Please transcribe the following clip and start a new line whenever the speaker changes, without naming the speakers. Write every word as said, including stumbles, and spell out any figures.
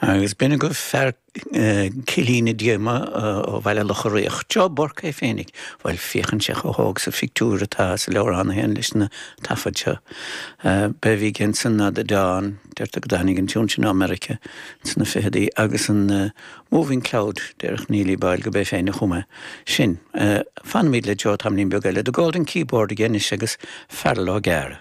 Agus b'in agaibh fear Cillín na Díoma ó Bhaile Locha Riach. Joe Burke é féinig, bhuel féachann sé chomh hóg sa phictiúr atá sa leabhrán féin leis na taifid seo. B'é bhí ansin ná The Dawn, deirtear go dtáinig an tiún sin ó America sna fichidí agus an uh, Moving Cloud déarfadh Neilí Boyle go b'é féin a chum é sin. Uh, Fanfaimid le Joe tamaillín beag eile, The Golden Keyboard again anois agus Feargal Ó Gearra.